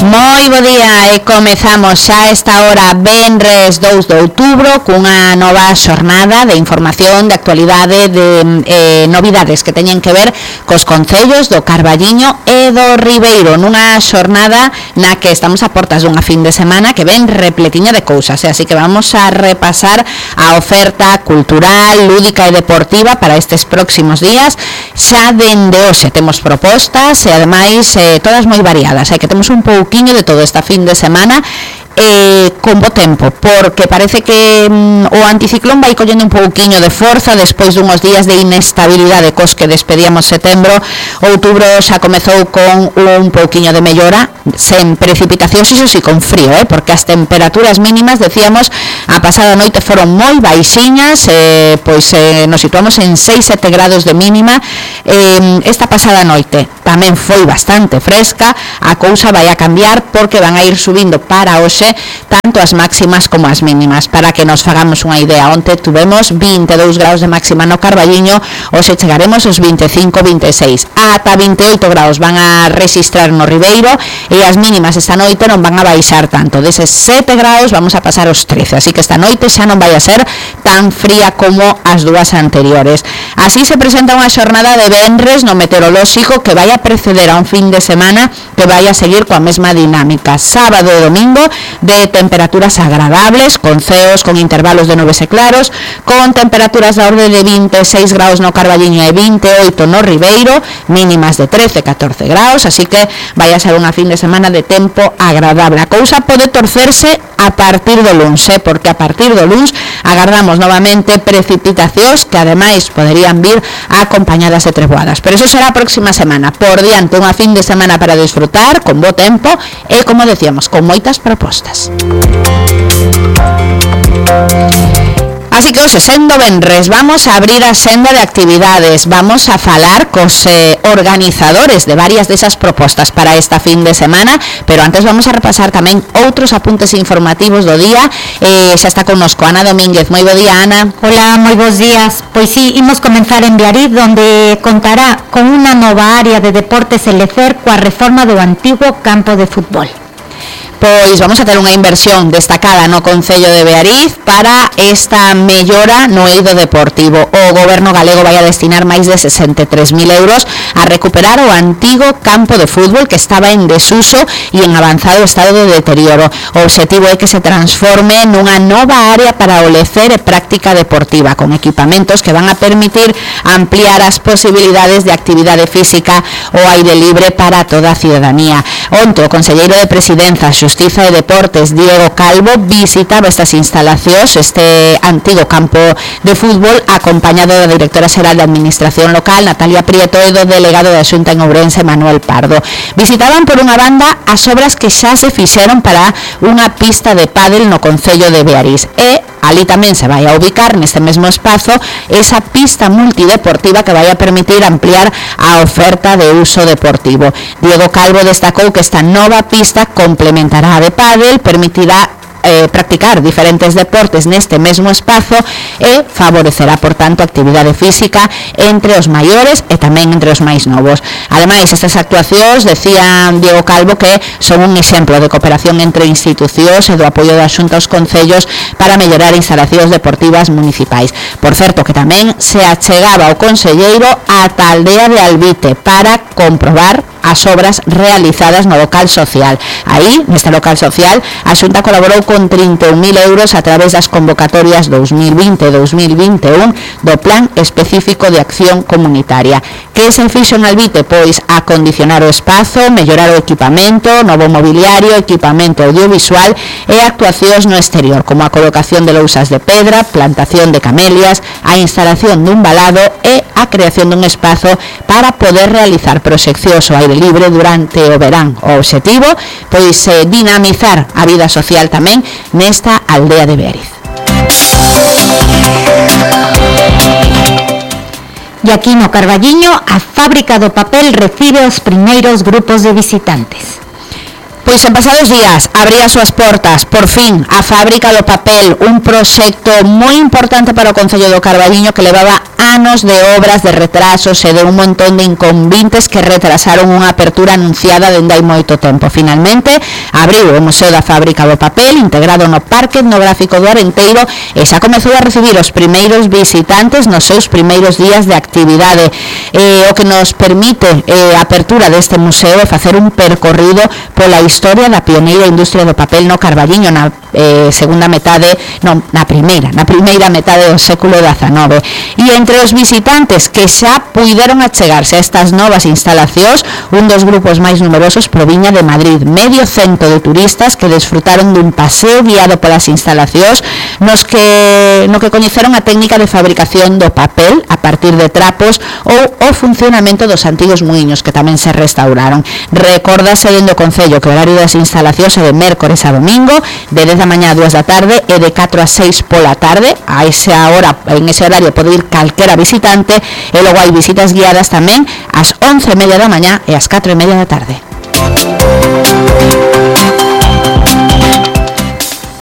Moi bo día e comezamos xa esta hora venres 2 de outubro cunha nova xornada de información, de actualidade, de novidades que teñen que ver cos concellos do Carballiño e do Ribeiro, nunha xornada na que estamos a portas dunha fin de semana que ven repletiña de cousas, así que vamos a repasar a oferta cultural, lúdica e deportiva para estes próximos días. Xa dende hoxe temos propostas e ademais todas moi variadas, que temos un pouquiño de todo esta fin de semana con bo tempo, porque parece que o anticiclón vai collendo un pouquiño de forza despois dunhos días de inestabilidade cos que despedíamos setembro. Outubro xa comezou con un pouquiño de mellora, sen precipitacións, iso si con frío, porque as temperaturas mínimas, decíamos, a pasada noite foron moi baixiñas, nos situamos en 6-7 grados de mínima. Esta pasada noite tamén foi bastante fresca, a cousa vai a cambiar porque van a ir subindo para hoxe tanto as máximas como as mínimas. Para que nos fagamos unha idea, onte tuvemos 22 graus de máxima no Carballiño, hoxe chegaremos aos 25-26, ata 28 graus van a registrar no Ribeiro e as mínimas esta noite non van a baixar tanto, deses 7 graus vamos a pasar aos 13, así que esta noite xa non vai a ser tan fría como as dúas anteriores. Así se presenta unha xornada de venres no meteorolóxico que vai a preceder a un fin de semana que vai a seguir coa mesma dinámica. Sábado e domingo de temperaturas agradables, con ceos con intervalos de nubes e claros, con temperaturas da orde de 26 graus no Carballiño e 28 no Ribeiro, mínimas de 13-14 graus, así que vai a ser unha fin de semana de tempo agradable. A cousa pode torcerse a partir do luns, porque a partir do luns agardamos novamente precipitacións que ademais poderían vir acompañadas de treboadas, pero eso será a próxima semana. Por diante, unha fin de semana para disfrutar con bo tempo e, como decíamos, con moitas propostas. Así que hoxe, sendo venres, vamos a abrir a senda de actividades, vamos a falar cos organizadores de varias desas propostas para esta fin de semana, pero antes vamos a repasar tamén outros apuntes informativos do día. Xa está connosco Ana Domínguez. Moi bo día, Ana. Hola, moi bons días. Pois sí, imos comenzar en Beariz, donde contará con unha nova área de deportes e lecer coa reforma do antigo campo de fútbol. Pois vamos a ter unha inversión destacada no Concello de Beariz para esta mellora no eido deportivo. O Goberno galego vai a destinar máis de 63.000 euros a recuperar o antigo campo de fútbol que estaba en desuso e en avanzado estado de deterioro. O obxectivo é que se transforme nunha nova área para o lecer e práctica deportiva, con equipamentos que van a permitir ampliar as posibilidades de actividade física ao aire libre para toda a ciudadanía. Onte, o conselleiro de Presidenza, Xustiza e Deportes, Diego Calvo, visitaba estas instalacións, este antigo campo de fútbol, acompañado da directora xeral de Administración Local, Natalia Prieto, e do delegado da Xunta en Ourense, Manuel Pardo. Visitaban, por unha banda, as obras que xa se fixeron para unha pista de pádel no Concello de Beariz e ali tamén se vai a ubicar neste mesmo espazo esa pista multideportiva que vai a permitir ampliar a oferta de uso deportivo. Diego Calvo destacou que esta nova pista complementará a de pádel, permitirá practicar diferentes deportes neste mesmo espazo e favorecerá, por tanto, a actividade física entre os maiores e tamén entre os máis novos. Ademais, estas actuacións, decía Diego Calvo, que son un exemplo de cooperación entre institucións e do apoio da Xunta aos concellos para mellorar instalacións deportivas municipais. Por certo, que tamén se achegaba o conselleiro ata a aldea de Albite para comprobar as obras realizadas no local social. Aí, neste local social, a Xunta colaborou con 31.000 euros a través das convocatorias 2020-2021 do Plan Específico de Acción Comunitaria. Que se fixo en Albite? Pois acondicionar o espazo, mellorar o equipamento, novo mobiliario, equipamento audiovisual e actuacións no exterior, como a colocación de lousas de pedra, plantación de camelias, a instalación dun valado e a creación dun espazo para poder realizar proxeccións ao aire libre durante o verán. O obxectivo, pois, dinamizar a vida social tamén nesta aldea de Beariz. E aquí no Carballiño, a fábrica do papel recibe os primeiros grupos de visitantes. Pois en pasados días abría as súas portas, por fin, a fábrica do papel, un proxecto moi importante para o Concello do Carballiño que levaba anos de obras, de retrasos e de un montón de inconvintes que retrasaron unha apertura anunciada dende hai moito tempo. Finalmente, abriu o Museo da Fábrica do Papel, integrado no Parque Etnográfico do Arenteiro, e xa comezou a recibir os primeiros visitantes nos seus primeiros días de actividade. O que nos permite a apertura deste museo é facer un percorrido pola historia da pioneira industria do papel no Carballiño na primeira metade do século XIX. E entre os visitantes que xa puideron achegarse a estas novas instalacións, un dos grupos máis numerosos proviña de Madrid, medio cento de turistas que desfrutaron dun paseo guiado polas instalacións no que coñeceron a técnica de fabricación do papel a partir de trapos ou o funcionamento dos antigos muiños que tamén se restauraron. Recórdase dende o Concello que o horario das instalacións é de mércores a domingo, de 10 da mañá a 2 da tarde e de 4 a 6 pola tarde. A esa hora, en ese horario pode ir calquera visitante, e logo hai visitas guiadas tamén ás 11:30 da mañá e ás 4:30 da tarde.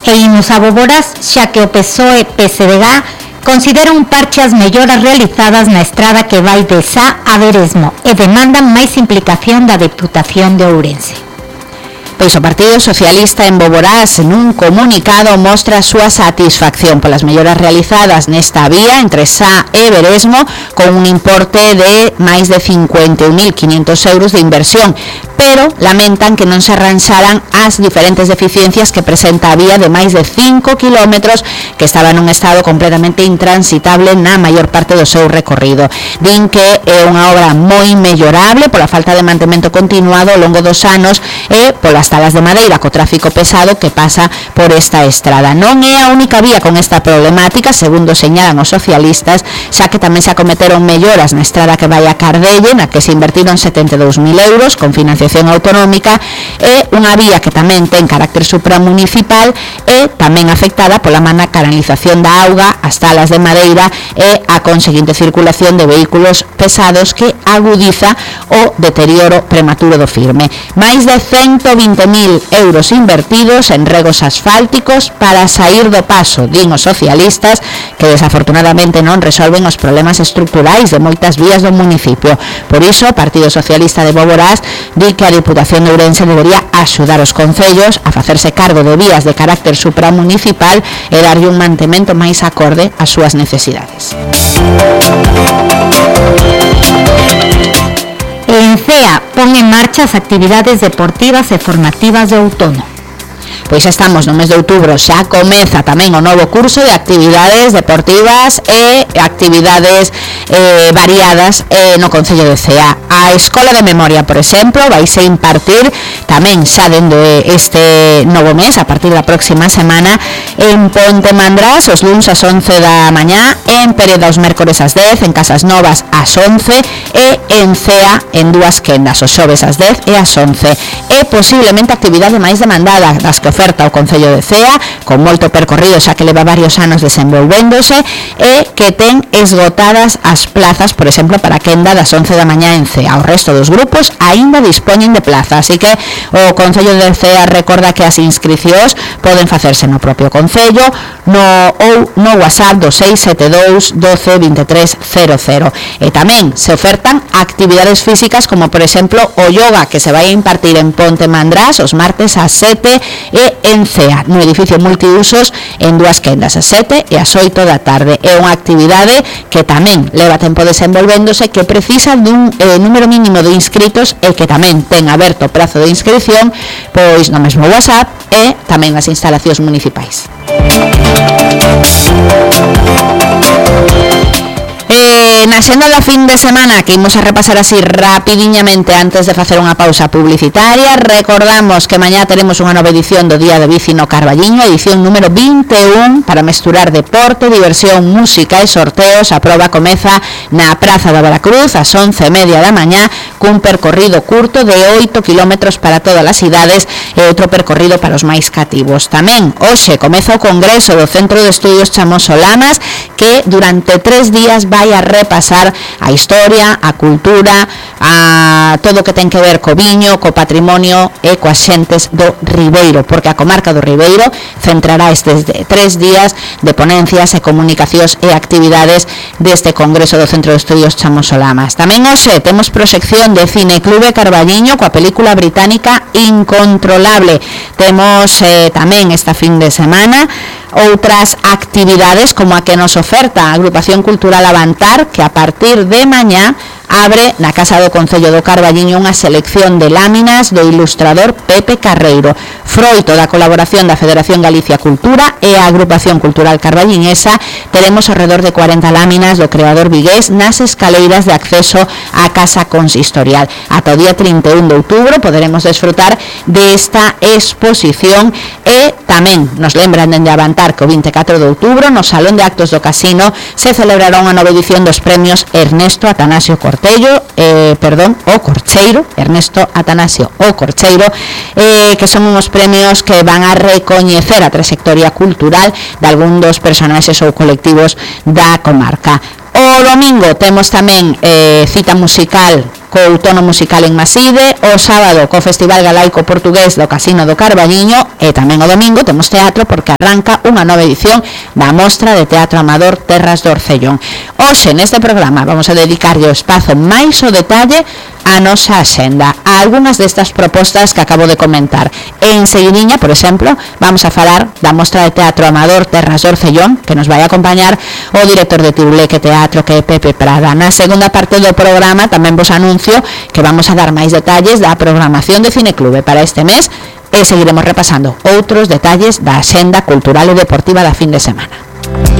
E imos a Boborás, xa que o PSOE-PSDG considera un parche as melloras realizadas na estrada que vai de Sá a Veresmo e demandan máis implicación da Deputación de Ourense. Pois o Partido Socialista en Boborás nun comunicado mostra a súa satisfacción polas melloras realizadas nesta vía entre Sá e Veresmo con un importe de máis de 51.500 euros de inversión, pero lamentan que non se arranxaran as diferentes deficiencias que presenta a vía de máis de 5 kilómetros que estaba nun estado completamente intransitable na maior parte do seu recorrido. Din que é unha obra moi mellorable pola falta de mantemento continuado ao longo dos anos e polas talas de madeira co tráfico pesado que pasa por esta estrada. Non é a única vía con esta problemática, segundo señalan os socialistas, xa que tamén se acometeron melloras na estrada que vai a Cardelle, na que se invertiron 72.000 euros con financiación autonómica, e unha vía que tamén ten carácter supramunicipal e tamén afectada pola mala canalización da auga, as talas de madeira e a conseguinte circulación de vehículos pesados que agudiza o deterioro prematuro do firme. Máis de 120.000 euros invertidos en regos asfálticos para sair do paso, din os socialistas, que desafortunadamente non resolven os problemas estructurais de moitas vías do municipio. Por iso, o Partido Socialista de Boborás di que a Diputación de Ourense debería axudar os concellos a facerse cargo de vías de carácter supramunicipal e darlle un mantemento máis acorde ás súas necesidades. En CEA pon en marcha as actividades deportivas e formativas de outono. Pois estamos no mes de outubro, xa comeza tamén o novo curso de actividades deportivas e actividades variadas no Concello de Cea. A Escola de Memoria, por exemplo, vaise impartir tamén xa dende este novo mes, a partir da próxima semana, en Ponte Mandrás, os luns ás 11 da mañá, en Pereda os mércores ás 10, en Casas Novas ás 11 e en Cea en dúas quendas, os xoves ás 10 e ás 11. É posiblemente a actividade máis demandada das que oferta o Concello de Cea, con moito percorrido xa que leva varios anos desenvolvéndose e que ten esgotadas as plazas, por exemplo, para a quenda das 11 da mañá en Cea. O resto dos grupos aínda dispoñen de plaza, así que o Concello de Cea recorda que as inscricións poden facerse no propio Concello no WhatsApp do 672 12 23 00. E tamén se ofertan actividades físicas como, por exemplo, o yoga que se vai a impartir en Ponte Mandrás os martes ás 7 e en Cea, no edificio multiusos en dúas quendas, ás 7 e ás 8 da tarde. É unha actividade que tamén leva tempo desenvolvéndose, que precisa dun número mínimo de inscritos e que tamén ten aberto o prazo de inscripción pois no mesmo WhatsApp e tamén nas instalacións municipais. Na xenda da fin de semana, que imos a repasar así rapidiñamente antes de facer unha pausa publicitaria, recordamos que mañá teremos unha nova edición do Día de Bici no Carballiño, edición número 21, para mesturar deporte, diversión, música e sorteos. A proba comeza na Praza da Veracruz ás 11:30 da mañá, cun percorrido curto de 8 kilómetros para todas as idades e outro percorrido para os máis cativos. Tamén hoxe comeza o congreso do Centro de Estudios Chamós Solanas, que durante 3 días vai a reparar repasar a historia, a cultura, a todo o que ten que ver co viño, co patrimonio e coas xentes do Ribeiro, porque a comarca do Ribeiro centrará estes 3 días de ponencias e comunicacións e actividades deste Congreso do Centro de Estudios Chamosolamas. Tamén hoxe temos proxección de Cineclube Carballiño coa película británica Incontrolable. Temos tamén esta fin de semana outras actividades como a que nos oferta a Agrupación Cultural Avantar, que a partir de mañá abre na Casa do Concello do Carballiño unha selección de láminas do ilustrador Pepe Carreiro, froito da colaboración da Federación Galicia Cultura e a Agrupación Cultural Carballiñesa. Teremos ao redor de 40 láminas do creador vigués nas escaleiras de acceso á Casa Consistorial. Ata o día 31 de outubro poderemos desfrutar desta exposición e tamén nos lembran dende Avantar que o 24 de outubro no Salón de Actos do Casino se celebrará unha nova edición dos premios Ernesto Atanasio Ernesto Atanasio o Corcheiro, que son uns premios que van a recoñecer a trayectoria cultural de algún dos personaxes ou colectivos da comarca. O domingo temos tamén cita musical co outono musical en Maside, o sábado co Festival Galaico Portugués do Casino do Carballiño e tamén o domingo temos teatro porque arranca unha nova edición da Mostra de Teatro Amador Terras do Orcellón. Hoxe neste programa vamos a dedicarlle o espazo máis o detalle a nosa axenda, a algunhas destas propostas que acabo de comentar. En seguidiña, por exemplo, vamos a falar da Mostra de Teatro Amador Terras do Orcellón, que nos vai a acompañar o director de Tiruleque Teatro, que é Pepe Prada. Na segunda parte do programa tamén vos anuncio que vamos a dar máis detalles da programación de Cineclube para este mes e seguiremos repasando outros detalles da axenda cultural e deportiva da fin de semana.